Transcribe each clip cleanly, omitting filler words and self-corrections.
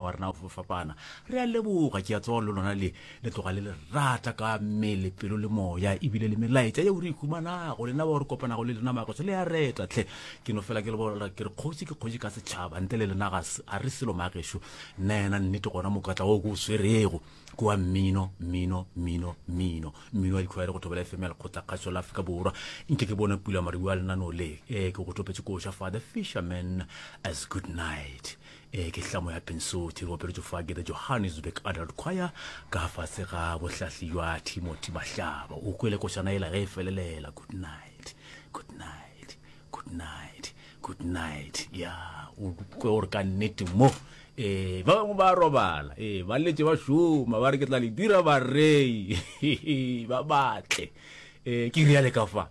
a rena go fapana. Re a leboga, ke a tseba le lona le le tloga le le rata ka mmele, pelo le moya, ebile le melaetša yeo re e humanago, lena bao re kopanago le lena magoso le a reta tlhe. Ke no fela ke le bolela ke re kgoši ke kgoši ka setšhaba, ntle le lena ga a re selo magešo. Nna yena nnete gona mokatla wo ke o swerego ke wa mmino, mmino, mmino, mmino, mmino wa dikhwaere go Thobela FM ya Lekgotlakgašo la Afrika Borwa. Nke ke bone pula maribu a lenaneo le, eh, ke go topetše koša fa The Fisherman as Good Night. E ke hlamo ya Pensothi, re opeletšwe fa ke The Johannesburg Adult Choir ka fase ga bohlahli jwa Timothy Mahlaba. O kwele košana yela ge e felelela, good night, good night, good night, good night. Ya, o kwe gore ka nnete mo ee ba bangwe ba robala ee ba letše ba šoma ba re ke tla le dira barei ba batle ee ke riale ka fa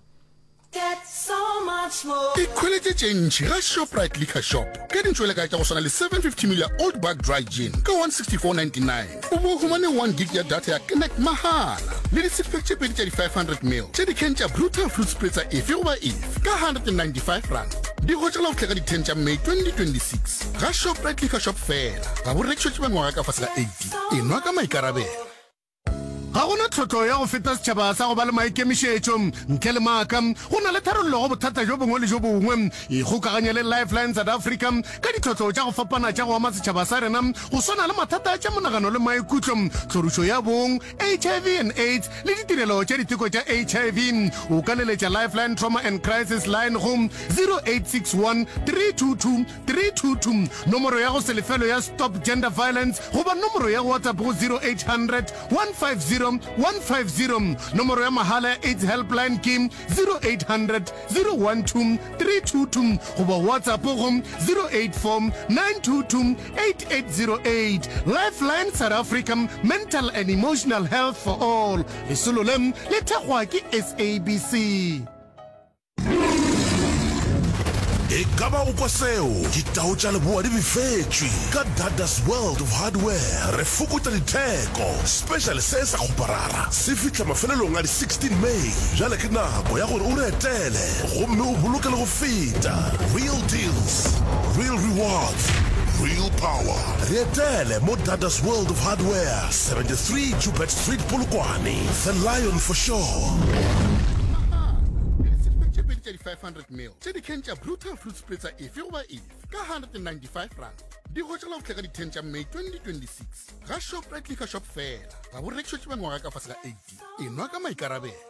Ikhweletše tše ntši ga Shoprite Liquor Shop ka dintšwelekae tša go swana le 750 ml ya Old Buck Dry Gin ka 164.99, o bo o humane 1 gig ya data ya Connect mahala le di-six-pack tše pedi tša di-500 ml tša di-can tša Brutal Fruit Spritzer efe goba efe ka R195. Di hwetšagala go fihla ka di 10 tša May 2026 ga Shoprite Liquor Shop feela. Ga bo rekišetšwe ba mengwaga ka fase ga 18. Enwa ka maikarabelo. Ga go na tlhotlo ya go feta setšhaba sa go ba le maikemišetšo. Ntle le maaka, go na le tharollo go bothata bjo bongwe le bjo bongwe. Ikgokaganye le Lifeline South Africa ka ditlhotlo tša go fapana tša go ama setšhaba sa rena, go swana le mathata a tša monagano le maikutlo, tlhorišo ya bong, HIV and AIDS le ditirelo tša diteko tša HIV. O ka leletša Lifeline Trauma and Crisis Line go 0861 322 322, nomoro ya go se lefelwe ya Stop Gender Violence goba nomoro ya WhatsApp go 0800 150 150. Nomoro ya mahala ya AIDS Helpline ke 0800 012 322 goba WhatsApp go 084 922 8808. Lifeline South Africa, Mental and Emotional Health for All. Lesolo le le thekgwa ke SABC. E ka ba o kwa seo? Ditao tša leboa di befetšwe. Ka Dada's World of Hardware re fokotša ditheko. Special se sa kgoparara se fihla mafelelong a di 16 May. Bjale ke nako ya gore o re etele gomme o boloke le go feta. Real deals, real rewards, real power. Re etele mo Dada's World of Hardware, 73 Joubert Street, Polokwane. The Lion for sure. Mahala le di-six-pack tše pedi tša di-500 ml tša di-can tša Brutal Fruit Spritzer efe goba efe ka R195. Di hwetšagala go fihla ka di-10 tša May 2026 ga Shoprite Liquor Shop feela. Ga bo rekišetšwe ba mengwaga ka fase ga 18. Enwa ka maikarabelo.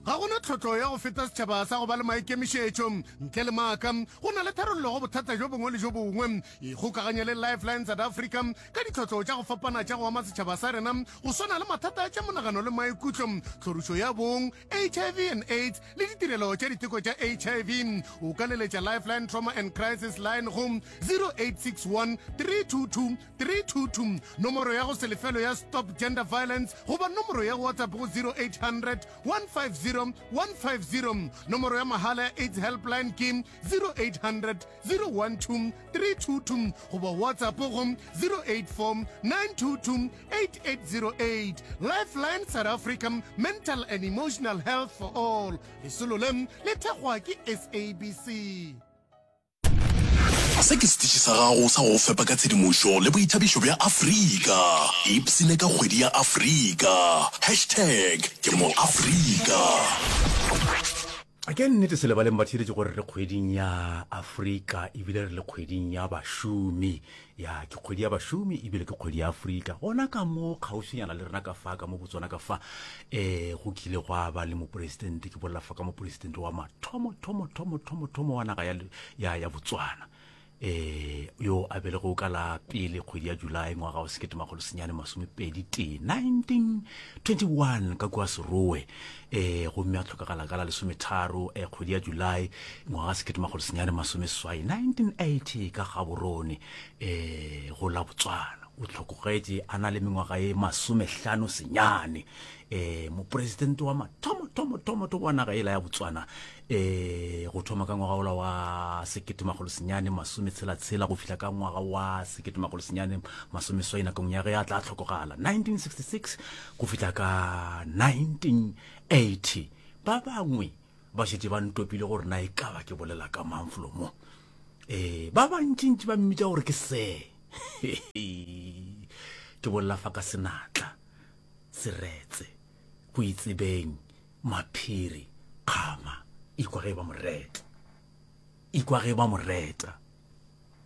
Ga go na tlhotlo ya go feta setšhaba sa go ba le maikemišetšo. Ntle le maaka, go na le tharollo go bothata bjo bongwe le bjo bongwe. Ikgokaganye le Lifeline South Africa ka ditlhotlo tša go fapana tša go ama setšhaba sa rena, go swana le mathata a tša monagano le maikutlo, tlhorišo ya bong, HIV and AIDS le ditirelo tša diteko tša HIV. O ka leletša Lifeline Trauma and Crisis Line go 0861 322 322, nomoro ya go se lefelwe ya Stop Gender Violence goba nomoro ya WhatsApp go 0800 150 150. Nomoro ya mahala ya AIDS Helpline ke 0800 012 322 goba WhatsApp go 084 922 8808. Lifeline South Africa, Mental and Emotional Health for All. Lesolo le le thekgwa ke SABC. Se ke setiši sa gago sa go go fepa ka tshedimošo le boithabišo bja Afrika. Ipshine ka kgwedi ya Afrika. Hashtag ke mo Afrika. Ke nnete se lebaleng batheeletši gore re kgweding ya Afrika ebile re le kgweding ya bašomi. Ya ke kgwedi ya bašomi ebile ke kgwedi ya Afrika. Gona ka mo kgauswinyana le rena ka fa ka mo Botswana ka fa eh go kile gwa ba le mopresidente ke bolela fa ka mopresidente wa mathomo thomo thomo thomo thomo wa naga ya ya ya Botswana eh yo a belego ka la pele kgwedi ya July ngwaga wa 1921 1921 ka kua Serowe eh gomme a tlhokagala ka la lesometharo eh, kgwedi ya July ngwaga 1980 1980 ka Gaborone eh go la Botswana o hlokogetše a na le mengwaga ye masomehlano senyane eh mopresidente wa mathomo thomo thomo thomo wa naga ela ya Botswana eh go thoma ka ngwaga ola wa sekete makgolo senyane masometshela-tshela go fihla ka ngwaga wa sekete makgolo senyane masomeswai nakong ya ge a tla hlokogala 1966 go fihla ka 1980 ba bangwe ba šetše ba ntopile gore na e ka ba ke bolela ka mang flo mo eh ba bantšintši ba mmitša gore ke se. Ke bolela fa ka senatla, seretse, go itsebeng, maphiri, kgama, ikwa ge ba mo reta. Ikwa ge ba mo reta.